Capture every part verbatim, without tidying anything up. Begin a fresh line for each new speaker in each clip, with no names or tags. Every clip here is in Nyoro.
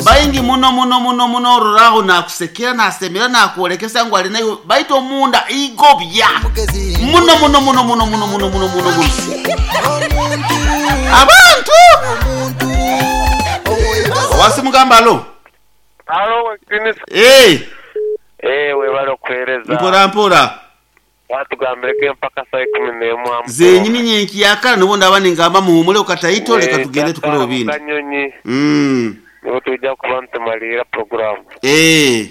Baingi muno muno muno muno ororaho nakusekera nasemera nakwolekesa ngu ali nayo baitu omunda igobya muno muno muno muno muno muno muno muno muno abantu wasimugamba alo.
Alo Kinisa.
Eh.
Eh, webale okuheereza.
Mpora mpora.
Watugambireko empaka saa ikumi n'emu.
Zenyini nyenki yakala nibo ndaba ningamba muhumule ukataito leka tugende tukole obindi.
Kanyonyi.
Mm.
Nibo tujja kuba ntumalira programu.
Eh.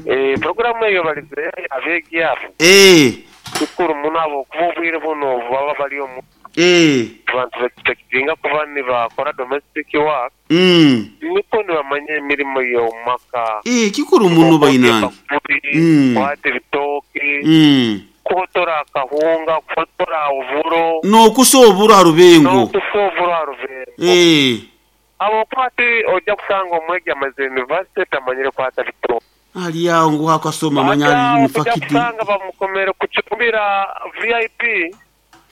Eh, programu eyo balize abeegi abo.
Eh.
Kikuru muno abo kuba obwire buno baba bali omu.
Eh.
Abantu bakitinga kuba nibakora domestic work.
Mm.
Niko nibamanya emirimo y'omumaka.
Eh, kikuru muno bainange.
Mm. Kwata ebitooke.
Mm.
Kuhotora akahunga, kuhotora oburo.
N'okusa oburo ha rubengo.
N'okusa oburo ha rubengo.
Eh.
Abo kwati ojja kusanga omwegi amaze university tamanyire kwata bitooke.
Ali awo ngu akasoma manya ali mufakiti.
Ojja kusanga bamukomere kucumbira V I P.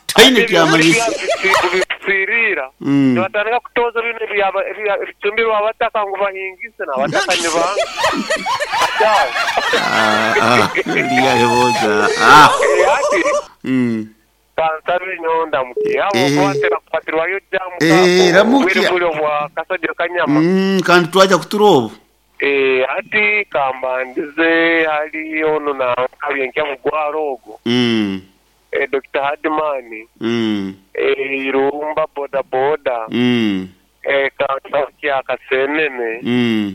Taine kyamanyisa.
Kubisirira. Nibatandika kutoza bino ebicumbirwa abataka ngu bahingise n'abataka nibanga.
Ah, ah, liya ah. Mm.
Kansabe nyonda mukia. Abo kwatera kupatirwayo jamu.
Eh, ramukia.
Bwire bwa kasadio kanyama.
Mm, kandi twaja kuturobo.
Eh, ati kambandize hali ono na kabyenkya mugwaro ogo.
Mm.
Eh, Doctor Hadimani.
Mm.
Eh, Irumba boda boda.
Mm.
Eh, kansakia kasenene.
Mm.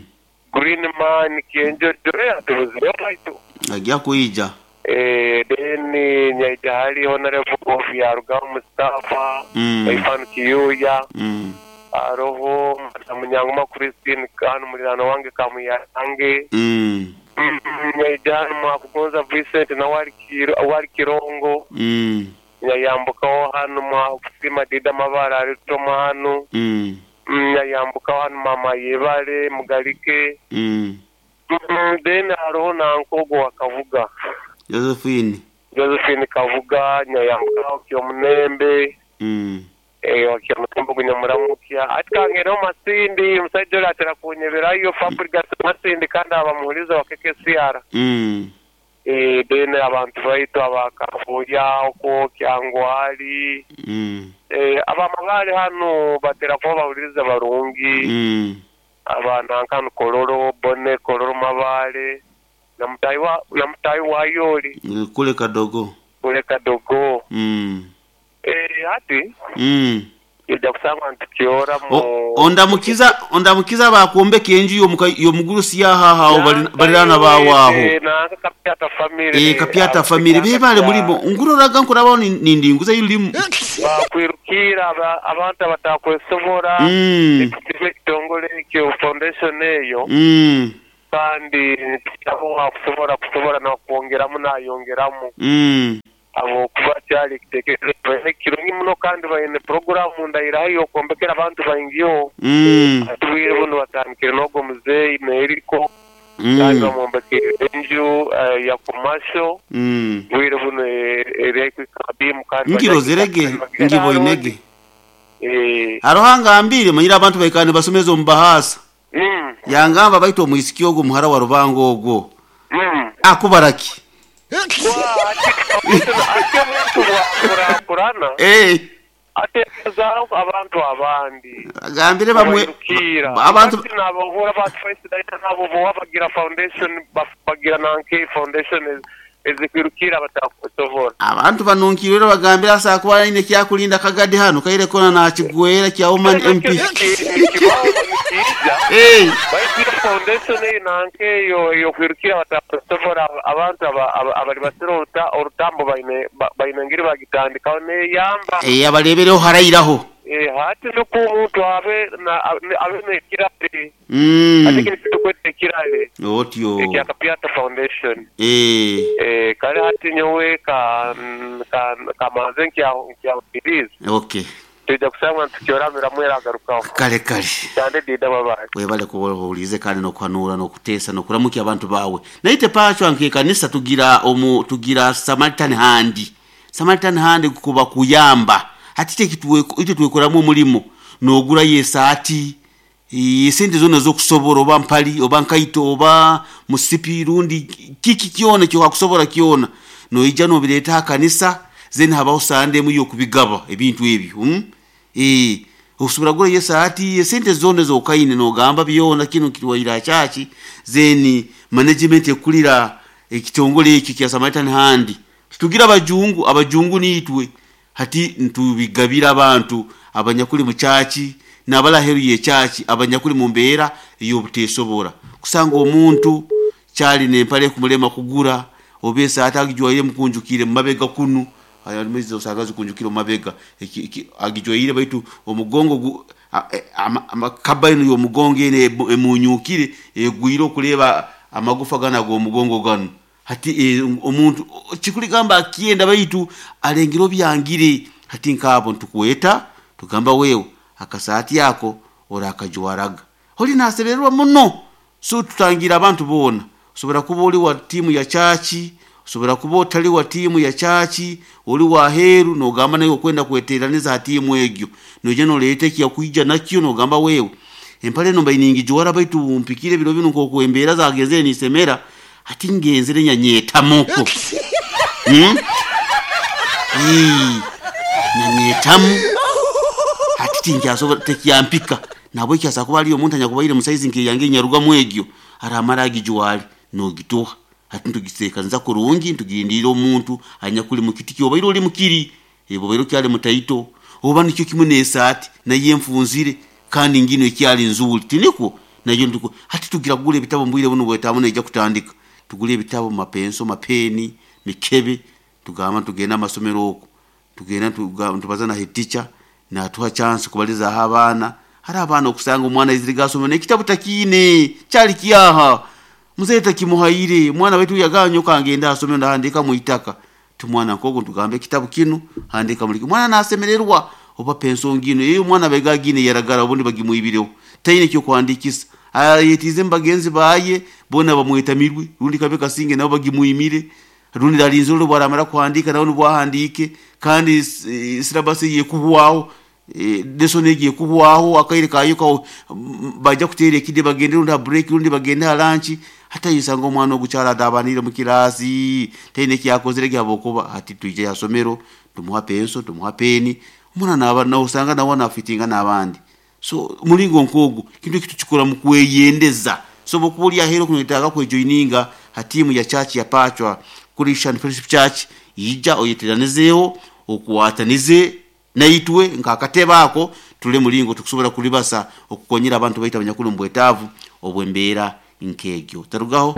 Green man kienjo dre atuziyo baitu.
Ajja kuija.
Eh, then nyaija hali honorable of Yaruga Mustafa,
mm.
Ifan Kiyuya.
Mm.
Aroho Munyanguma Christine kanu mulirano wange kamuyange.
Mm.
Nyaija mwakugonza Vincent na wali kiro wali kirongo.
Mm.
Nyayambuka hano mwakusima dida mabara alitoma hano.
Mm.
Nyayambuka hano mama yebale mugalike.
Mm.
Mm, then aroho na nkogo wakavuga.
Josephine.
Josephine Kavuga nyayambuka kyomunembe.
Mm.
Eh wakyamutembo kunyamuramukia. Atikangero Masindi musajja oyo atera kunyeberayo Fabrigas Masindi kandi abamuhuliza wa K K C R.
Mm.
Eh then abantu baitu abakafuya okwo kyangwali.
Mm.
Eh abamagale hano batera kuba bahuliza barungi.
Mm.
Abana nkanu kololo bone kololo mabale. Namutayi wa namutayi wa yoli.
Kule kadogo.
Kule kadogo.
Mm.
Eh ati
mm.
Ija kusanga ntukiora mu
ondamukiza ondamukiza bakuombeka enju yomugurusi yahaha balirana bawaho
eh na Kapyata family
eh Kapyata family bebale mulimo nguroraga nkurabaho nindinguza yulimu
bakwirukira abantu abatakwesobora
mm.
Ekitongole ekyo foundation eyo
mm.
kandi abo kusobora kusobora na kuongeramu nayongeramu
mm.
Abo kuba cyari kitekerezo kirungi muno kandi bayine programu ndayirayo kombekera abantu baingiyo
mm.
Atubwire buno batandikire n'ogwo muzeeyi Meriko
mm.
Kandi bamumbekere enju uh, ya commercial
mm.
Bwire buno eri kabimu kandi
ngirozerege ngiboinege
eh
arohanga ambire manyira abantu baikane basomeza omubahasa
mm.
Yangamba baito omwisiki ogwo muhara wa Rubango ogwo
mm.
Akubaraki
Eh. Atekezaho abantu abandi.
Agambire bamwe abantu
nabo hora batface nabo bo bagira foundation bagira nanke foundation ezikwirukira batakusobora.
Abantu banunkirira bagambira asa kuba ine kyakulinda kagadi hano kaire kona na kigwera kya woman M P. Eh.
Bagira foundation nanke yo yo kwirukira batakusobora abantu abali basira orutambo baine bainengiri bagitandika ne yamba.
Eh abalebereho harayiraho.
Eh hati nuko umuntu abe na abe nekirale.
Mm.
Ati kitukwete kirale.
Otyo.
Ekya Kapyata Foundation.
Eh.
Eh kale hati nyowe ka ka kamaze nkya nkya release.
Okay.
Tujja kusanga tukyoramira mwera agarukaho.
Kale kale.
Cyane dida babaye.
Webale kubulize kandi no kwanura no kutesa no kuramukia abantu bawe. Naite pacho anke kanisa tugira omu tugira Samaritan hand. Samaritan hand kuba kuyamba. Hatite kituwe ite tuwekoramu omulimo nogura yesaati Esente zona zokusobora, oba mpali oba nkaito oba musipi rundi kiki kyona kyokusobora kyona, noija nobireeta kanisa, then habaho sande emu y'okubigaba ebintu ebyo. hmm? Eh, osobora kugura esaati, esente zona zokaine nogamba byona kino kitwaire church, then management ekulira ekitongole ekyo kya Samaritan Hand. Tugira abajungu, abajungu niitwe hati ntubigabira abantu abanyakuli mu church n'abalaheru ye church, abanyakuli mu mbeera ey'obuteesobora. Kusanga omuntu kyali nempale kumulema kugura, oba esaati agijwaire mukunjukire mu mabega kunu, aya osanga zikunjukire mu mabega, agijwaire baitu omugongo amakaba eno y'omugongo eno emunyukire egwire okuleba amagufa gano ag'omugongo gano. Hati omuntu kikuligamba akyenda baitu alengere obyangire. Hati nkaabo ntukweta tugamba wewe akasaati ako orakajwaraga oli nasebererwa muno. So tutangira abantu boona, osobora kuba oli wa tiimu ya church, osobora kuba otali wa tiimu ya church, oli wa heru nogamba naye okwenda kweteraniza ha tiimu egyo, noija noleeta ekyakwija nakyo nogamba wewe empale eno mbaire ningijwara baitu mpikire ebiro binu nk'oku embeera zagenzere nisemera, hati ngenzere nyanyetamoko. hmm? Nyanyeetamu hati tinkyasobora, tekyampika. Nabweki asa kuba ali omuntu anyakubaire musaizi nkeyange nyarugamu egyo aramara agijwale nogituha. Hati ntugisekanza kurungi, ntugindira omuntu anyakuli mukiti kyobaire oli mukiri obaire okyali mutaito, oba nikyo kimu n'esaati naye enfunzire kandi ngino ekyali nzuuli tinikwo nayo ntuko. Hati tugira kugura ebitabo mbwire buno bwetaamu neija kutandika, tugule ebitabo, mapenso, mapeni, mikebe, tugamba tugenda amasomero oku, tugenda tubaza na head teacher natuha chance kubalizaho abaana. Hari abaana okusanga omwana aizire gasoma n'ekitabu takiine kyali kyaha muzeeyi takimuhaire, omwana waitu yaganyoka ngenda asome ndahandika mwitaka tumwana nkogo ntugamba ekitabu kinu handika muliki, omwana nasemererwa. Oba penso ngino eyo omwana baiga gine yaragara obundi bagimwibireho taine kyokuhandikisa, ayetize mubagenzi baye bona bamwetamirwe, rundi kabe kasinge nabo bagimwimire, rundi alinzire bwaramara kuhandika nawe nibwahandike, kandi syllabus yekuhwaho, lesson egi ekuhwaho akaire kayo kawo bajja kuteera ekide bagende rundi ha break rundi bagende ha lunch. Hata yisanga omwana ogukyala adabanire mu kirasi taine kyakozere gyabokuba. Hati twije yasomero tumuha penso, tumuha peni, omwana naba nausanga nawe nafitinga n'abandi. So mulingo nkogu kintu kitu kikora mu kweyendeza. So bokuba oli ahero kunetaaga kwejoininga ha tiimu ya church ya Pachwa Christian Fellowship Church, ija oyeteranizeeho okwatanize naitwe nk'akatebe ako tule mulingo tukusobora kulibasa okukonyera abantu baitu abanyakuli mu bwetaavu obw'embeera nk'egyo. Tarugaho.